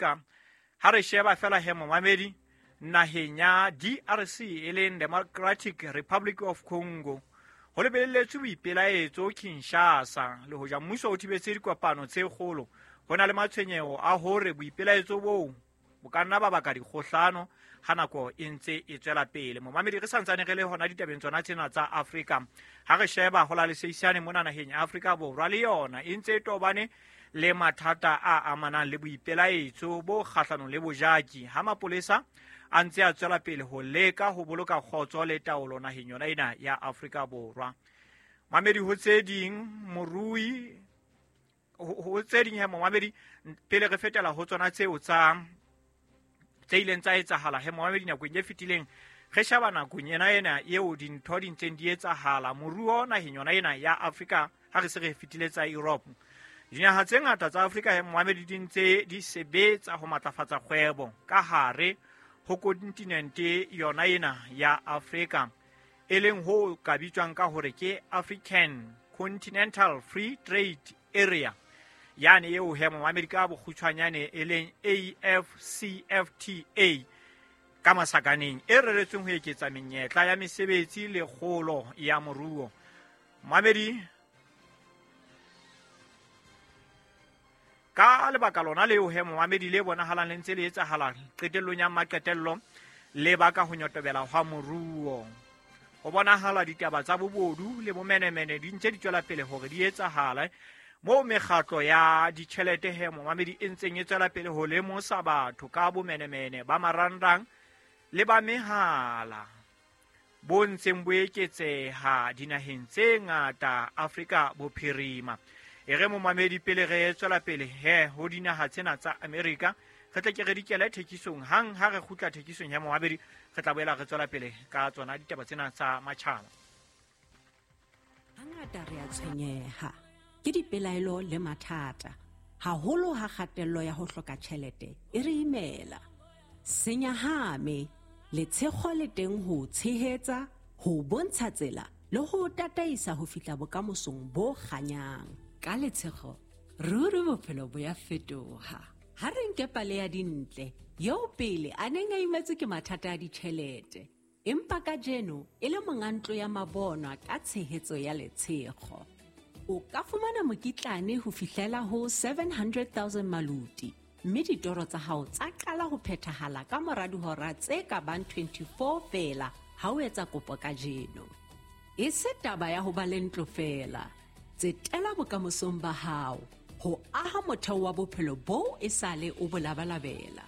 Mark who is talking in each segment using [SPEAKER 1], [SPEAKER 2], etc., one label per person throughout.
[SPEAKER 1] Ha re sheba fela he momamedi naheng ya DRC e leng Democratic Republic of Congo, ho lebeletswe boipelaetso Kinshasa. Le hoja mmuso o thibetse dikopano tse kgolo, ho na le matshwenyeho a hore boipelaetso boo bo ka nna ba baka dikgohlano ha nako e ntse e tswela pele. Momamedi, re santsane re le hona ditabeng tsona tsena tsa Afrika. Ha re sheba ho la leseisane mona naheng ya Afrika Borwa, le yona e ntse e tobane le mathata a amanang le boipelaetso bo kgahlanong le bojaki, ha mapolesa a ntse a tswela pele ho leka ho boloka kgotso le taolo naheng yona ena ya Afrika Borwa. Mamedi, ho tse ding morui ho tse ding he momamedi, pele re fetela ho tsona tseo tsa tse ileng tsa etsahala he momamedi nakong e fetileng, re sheba nakong ena ena eo dintho di ntseng di etsahala moruo naheng yona ena ya Afrika. Ha re se re fetile tsa Europe, dinaha tse ngata tsa Afrika he momamedi di ntse di sebetsa ho matlafatsa kgwebo ka hare ho kontinente yona ena ya Afrika, e leng ho ka bitswang ka hore ke African Continental Free Trade Area, yane eo he momamedi ka bokgutshwanyane e leng AfCFTA ka masakaneng, e reretsweng ho eketsa menyetla ya mesebetsi le kgolo ya moruo. Mamedi, ka lebaka lona leo he momamedi le bonahalang le ntse le etsahala qetellong ya maqetello le baka ho nyotobela hwa moruo. Ho bonahala ditaba tsa bobodu le bomenemene di ntse di tswela pele hore di etsahale, moo mekgatlo ya ditjhelete he momamedi e ntseng e tswela pele ho lemosa batho ka bomenemene ba marangrang le ba mehala bo ntseng bo eketseha dinaheng tse ngata Afrika Bophirima. E re momamedi, pele re tswela pele he ho dinaha tsena tsa Amerika, re tle ke re dikele thekisong. Hang ha re kgutla thekisong ya momamedi, re tla boela re tswela pele ka tsona ditaba tsena tsa matjhaba.
[SPEAKER 2] Hangata re a tshwenyeha ke dipelaelo le mathata, haholo ha kgatello ya ho hloka tjhelete e re imela. Senyahame, letshego le teng ho tshehetsa, ho bontsha tsela le ho tataisa ho fihla bokamosong bo kganyang. Ka letshego, ruri bophelo bo ya fetoha. Ha re nke pale ya Dintle, eo pele a neng a imetswe ke mathata a ditjhelete, empa kajeno e le monga ntlo ya mabonwa ka tshehetso ya letshego. O ka fumana mokitlane ho fihlela ho 700,000 maluti, mme ditoro tsa hao tsa qala ho phethahala ka mora dihora tse ka bang 24 feela ha o etsa kopo kajeno. E se taba ya ho ba le ntlo feela, tsetela bokamosong ba hao ho aha motheo wa bophelo boo e sale o bo labalabela.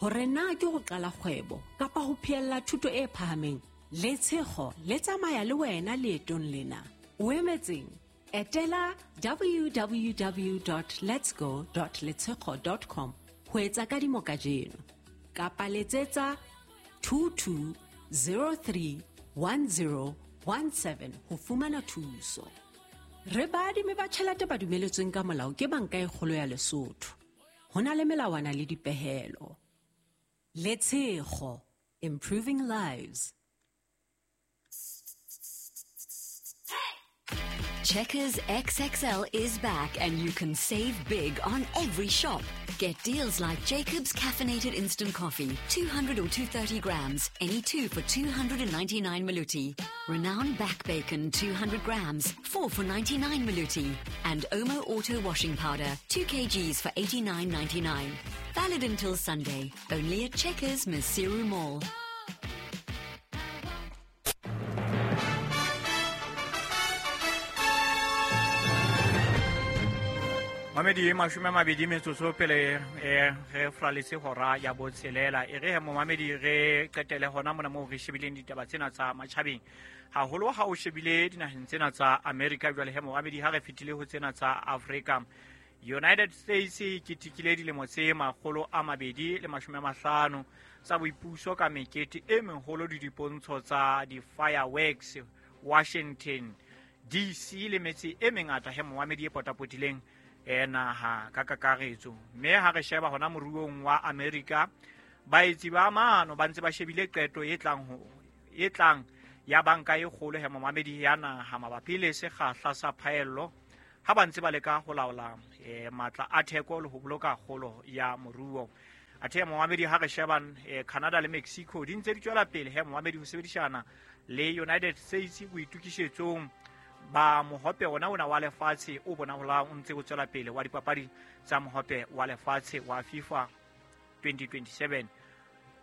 [SPEAKER 2] Hore na ke ho qala kgwebo kapa ho phehella thuto e phahameng, letshego le tsamaya le wena leetong lena. O emetseng? Etela www.letsgo.letshego.com ho etsa kadimo kajeno, kapa letsetsa 22031017 ho fumana thuso. Re baadimi ba tjhelete ba dumeletsweng ka molao ke Banka e Kgolo ya Lesotho. Ho na le melawana le dipehelo. Letshego, improving lives.
[SPEAKER 3] Checkers XXL is back and you can save big on every shop. Get deals like Jacob's Caffeinated Instant Coffee, 200 or 230 grams, any two for 299 Maluti. Renown Back Bacon, 200 grams, 4 for 99 Maluti. And Omo Auto Washing Powder, 2 kgs for 89.99. Valid until Sunday, only at Checkers Maseru Mall.
[SPEAKER 1] Mamedi, 20 metsotso pele re fraletse hora ya botshelela. E re he momamedi re qetele hona mona moo re shebileng ditaba tsena tsa matjhabeng, haholo ha o shebile dinaheng tsena tsa America. Jwale he momamedi, ha re fetile ho tsena tsa Africa, United States e ketekile dilemo tse 250 tsa boipuso ka mekete e meholo le dipontsho tsa di-fireworks Washington DC le metse e mengata he momamedi e potapotileng naha ka kakaretso. Mme ha re sheba hona moruong wa America, baetsi ba mano ba ntse ba shebile qeto e tlang ya banka e kgolo he momamedi ya naha mabapi le sekgahla sa phaello, ha ba ntse ba leka ho laola matla a theko le ho boloka kgolo ya moruo. Athe momamedi, ha re sheba Canada le Mexico di ntse di tswela pele he momamedi ho sebedisana le United States boitokisetsong ba mohope ona ona wa lefatshe o bonahalang o ntse o tswela pele wa dipapadi tsa mohope wa lefatshe wa FIFA 2027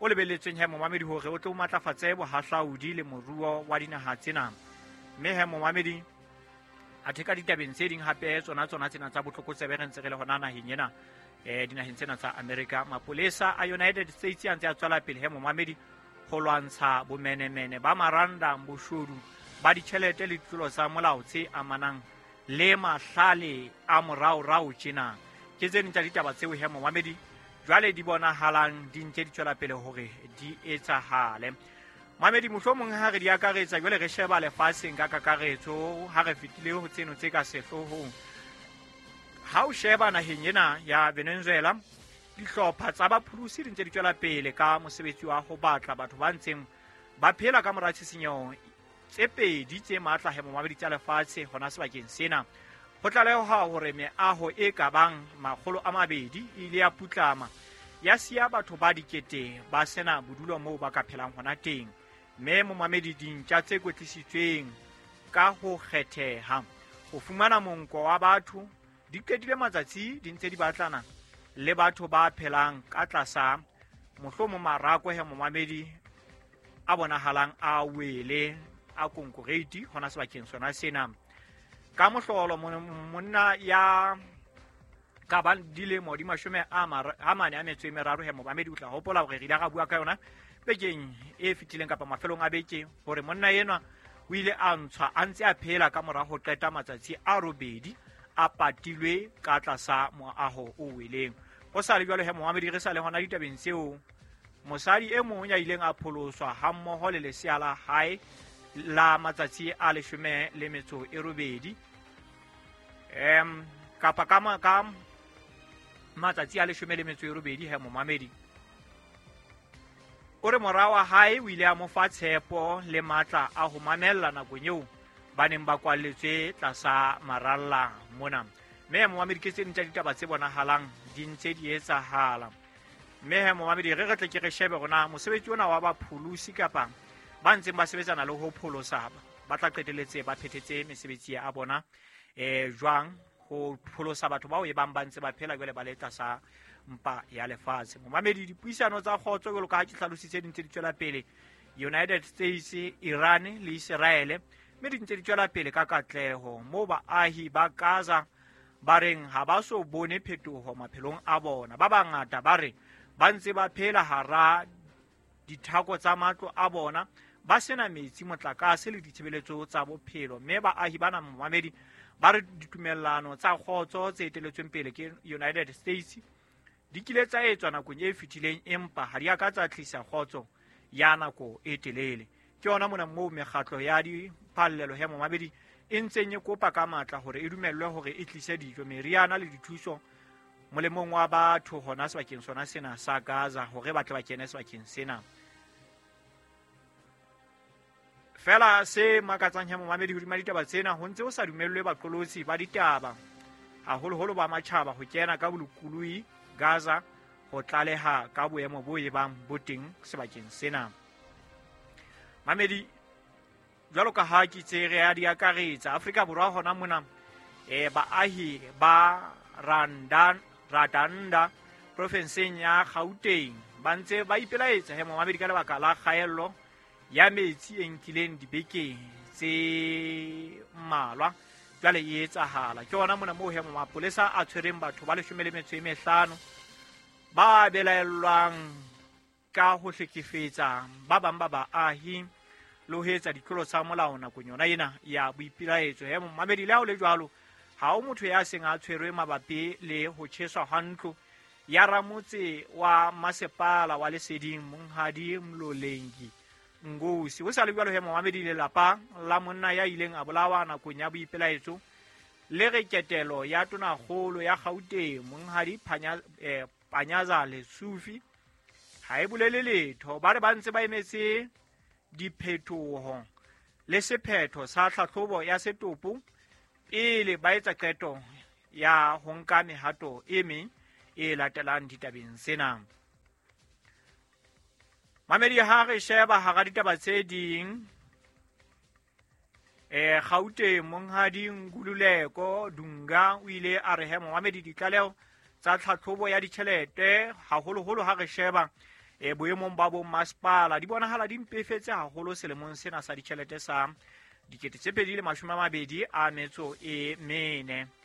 [SPEAKER 1] o lebelletsweng he momamedi hore o tlo matlafatse bohahlaudi le moruo wa dinaha tsena. Mme he momamedi, athe ka ditabeng tse ding hape tsona tsona tsena tsa botlokotsebe re ntse re le hona naheng ena, dinaheng tsena tsa America, mapolesa a United States a ntse a tswela pele he momamedi ho lwantsha bomenemene ba maranda, boshodu ba ditjhelete le ditlolo tsa molao tse amanang le mahlale a moraorao tjena. Ke tse ding tsa ditaba tseo he momamedi jwale di bonahalang di ntse di tswela pele hore di etsahale. Mamedi, mohlomong ha re di akaretsa jwale re sheba lefatsheng ka kakaretso, ha re fetile ho tseno tse ka sehloohong. Ha o sheba naheng ena ya Venezuela, dihlopha tsa bapholosi di ntse di tswela pele ka mosebetsi wa ho batla batho ba ntseng ba phela ka mora tshisinyeho tse pedi tse matla he momamedi tsa lefatshe hona sebakeng sena. Ho tlaleha hore meaho e ka bang 200 e ile ya putlama, ya siya batho ba dikete ba sena bodulo moo ba ka phelang hona teng. Mme momamedi, dintja tse kwetlisitsweng ka ho kgetheha ho fumana monko wa batho di qetile matsatsi di ntse di batlana le batho ba phelang ka tlasa mohlomong marako he momamedi a bonahalang a wele a konkoreiti hona sebakeng sona sena. Ka mohlolo monna ya ka bang dilemo di 43 he momamedi, o tla hopola hore re ile ra bua ka yona bekeng e fetileng kapa mafelong a beke hore monna enwa o ile a ntshwa a ntse a phela ka mora ho qeta matsatsi a 8 a patilwe ka tlasa moaho o weleng. Ho sa le jwalo he momamedi, re sa le hona ditabeng tseo, mosadi e mong ya ileng a pholoswa hammoho le lesea la hae la matsatsi a 18 kapa ka matsatsi a 18 he momamedi, o re mora wa hae o ile a mo fa tshepo le matla a ho mamella nakong eo ba neng ba kwalletswe tlasa maralla mona. Mme momamedi, ke tse ding tsa ditaba tse bonahalang di ntse di etsahala. Mme he momamedi, re tle ke re shebe rona mosebetsi ona wa bapholosi kapa ba ntseng ba sebetsana le ho pholosa ba tla qetelletse ba phethetse mesebetsi ya bona jwang ho pholosa batho bao e bang ba ntse ba phela jwale ba le tlasa mpa ya lefatshe. Momamedi, dipuisano tsa kgotso jwalo ka ha ke hlalositse di ntse di tswela pele United States, Iran le Israel, mme di ntse di tswela pele ka katleho moo baahi ba Gaza ba reng ha ba so bone phetoho maphelong a bona. Ba bangata ba re ba ntse ba phela hara dithako tsa matlo a bona, ba sena metsi, motlakase le ditshebeletso tsa bophelo. Mme baahi bana momamedi ba re ditumellano tsa kgotso tse eteletsweng pele ke United States di kile tsa etswa nakong e fetileng, empa ha di a ka tsa tlisa kgotso ya nako e telele. Ke yona mona moo mekgatlo ya diphallelo he momamedi e ntseng e kopa ka matla hore e dumellwe hore e tlise dijo, meriana le dithuso molemong wa batho hona sebakeng sona sena sa Gaza, hore ba tle ba kene sebakeng sena. Fela se makatsang he momamedi hodima ditaba tsena, ho ntse ho sa dumellwe baqolotsi ba ditaba haholoholo ba matjhaba ho kena ka bolokolohi Gaza ho tlaleha ka boemo bo ebang bo teng sebakeng sena. Mamedi, jwalo ka ha ke tse re a di akaretsa, Afrika Borwa hona mona baahi ba Radanda profenseng ya Gauteng ba ntse ba ipelaetsa he momamedi ka lebaka la kgaello ya metsi e nkileng dibekeng tse mmalwa jwale e etsahala. Ke hona mona moo he mapolesa a tshwereng batho ba 15 ba belaellwang ka ho hlekefetsa ba bang ba baahi le ho etsa ditlolo tsa molao nakong yona ena ya boipelaetso. He momamedi, le ha ho le jwalo, ha ho motho ya seng a tshwerwe mabapi le ho tjheswa ha ntlo ya ramotse wa masepala wa Leseding Monghadi Mlolengi Ngosi. Ho sa le jwalo he momamedi, lelapa la monna ya ileng a bolawa nakong ya boipelaetso le re ketelo ya tonakgolo ya Gauteng Monghadi Panyaza Lesufi ha e bolele letho. Ba re ba ntse ba emetse diphetoho le sephetho sa tlhahlobo ya setopo pele ba etsa qeto ya ho nka mehato e meng e latelang ditabeng sena. Mamedi ha re sheba hara ditaba tse ding, Gauteng monghadi Nkululeko Dunga o ile a re he momamedi ditlaleho tsa tlhatlhobo ya ditjhelete haholoholo ha re sheba boemong ba bo masepala di bonahala di mpefetse haholo selemong sena sa ditjhelete sa 2024 e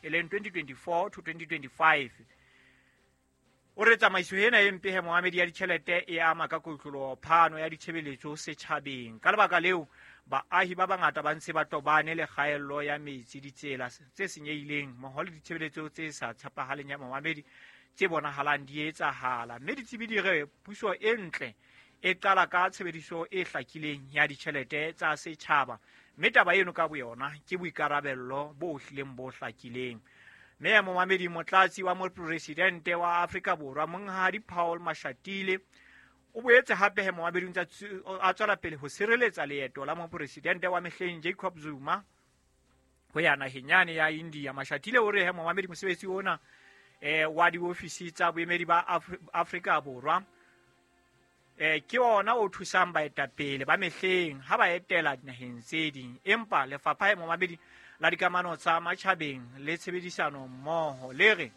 [SPEAKER 1] leng 2024 to 2025. O re tsamaiso ena e mpe he momamedi ya ditjhelete e ama ka kotloloho phano ya ditshebeletso setjhabeng. Ka lebaka leo baahi ba bangata ba ntse ba tobane le kgaello ya metsi, ditsela tse senyehileng mmoho le ditshebeletso tse sa tshepahaleng ya momamedi tse bonahalang di etsahala. Mme ditsebi di re puso e ntle e qala ka tshebediso e hlakileng ya ditjhelete tsa setjhaba, mme taba eno ka boyona ke boikarabello bo hlileng bo hlakileng. Mme momamedi motlatsi wa mopresidente wa Afrika Borwa monghadi Paul Mashatile o boetse hape he momamedi o ntse a tswela pele ho sireletsa leeto la mopresidente wa mehleng Jacob Zuma ho ya naheng yane ya India. Mashatile o re he momamedi mosebetsi ona wa diofisi tsa boemedi ba Afrika Borwa ke ona o thusang baetapele ba mehleng ha ba etela dinaheng tse ding, empa lefapha he momamedi la dikamano tsa matjhabeng le tshebedisano mmoho le re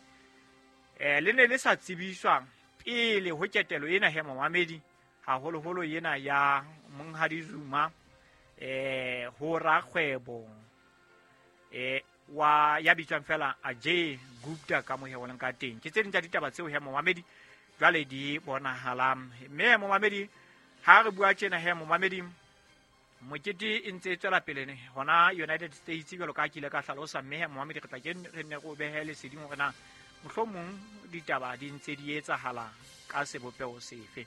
[SPEAKER 1] le ne le sa tsebiswa pele ho ketelo ena he momamedi haholoholo ena ya monghadi Zuma ho rakgwebo wa ya bitswang fela Ajay Gupta ka mo heoleng ka teng. Ke tse ding tsa ditaba tseo he momamedi jwale di bonahalang. Mme momamedi ha re bua tjena he momamedi mokete e ntse e tswela pele hona United States jwalo ka ke ile ka hlalosa. Mme he momamedi re tla ke re nne re o behe leseding hore na mohlomong ditaba di ntse di etsahala ka sebopeho sefe.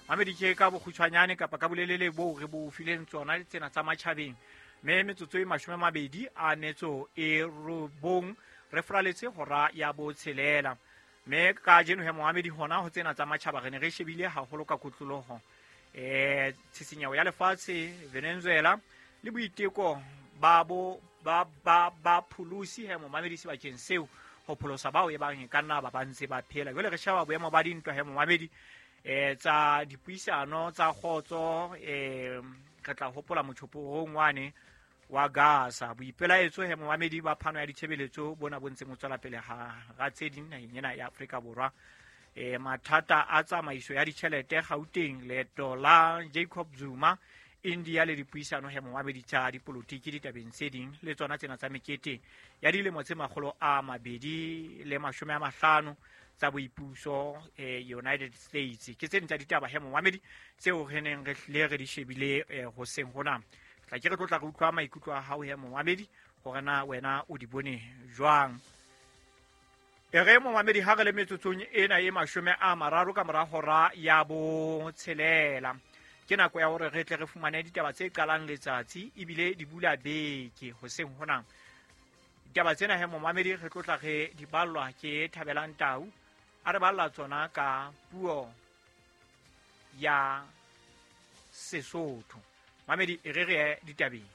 [SPEAKER 1] Mamedi ke ka bokgutshwanyane kapa ka bolelele boo re bo fileng tsona tsena tsa matjhabeng. Mme metsotso e 29 re fraletse hora ya 6. Mme kajeno he momamedi hona ho tsena tsa matjhaba re ne re shebile haholo ka kotloloho tshisinyeho ya lefatshe Venezuela le boiteko ba bo ba ba ba pholosi he momamedi sebakeng seo ho pholosa bao e bang e ka nna ba ba ntse ba phela. Jwale re sheba boemo ba dintwa he momamedi tsa dipuisano tsa kgotso, re tla hopola motjhoporong wane wa Gaza. Boipelaetso he momamedi ba phano ya ditshebeletso bona bo ntseng bo tswela pele ha tse ding naheng ena ya Afrika Borwa. Mathata a tsamaiso ya ditjhelete Gauteng, leeto la Jacob Zuma India le dipuisano he momamedi tsa dipolotiki ditabeng tse ding le tsona tsena tsa mekete ya dilemo tse 250 tsa boipuso United States. Ke tse ding tsa ditaba he momamedi tseo re neng re hlile re di shebile hoseng hona. Tla ke re tlotla re utlwa maikutlo a hao he momamedi hore na wena o di bone jwang. E re momamedi ha re le metsotsong ena e 30 ka mora hora ya 6, ke nako ya hore re tle re fumane ditaba tse qalang letsatsi ebile di bula beke hoseng hona. Ditaba tsena he momamedi re tlotla re di ballwa ke Thabelang Tau, a re balla tsona ka puo ya Sesotho. Mamedi e re re ditabeng.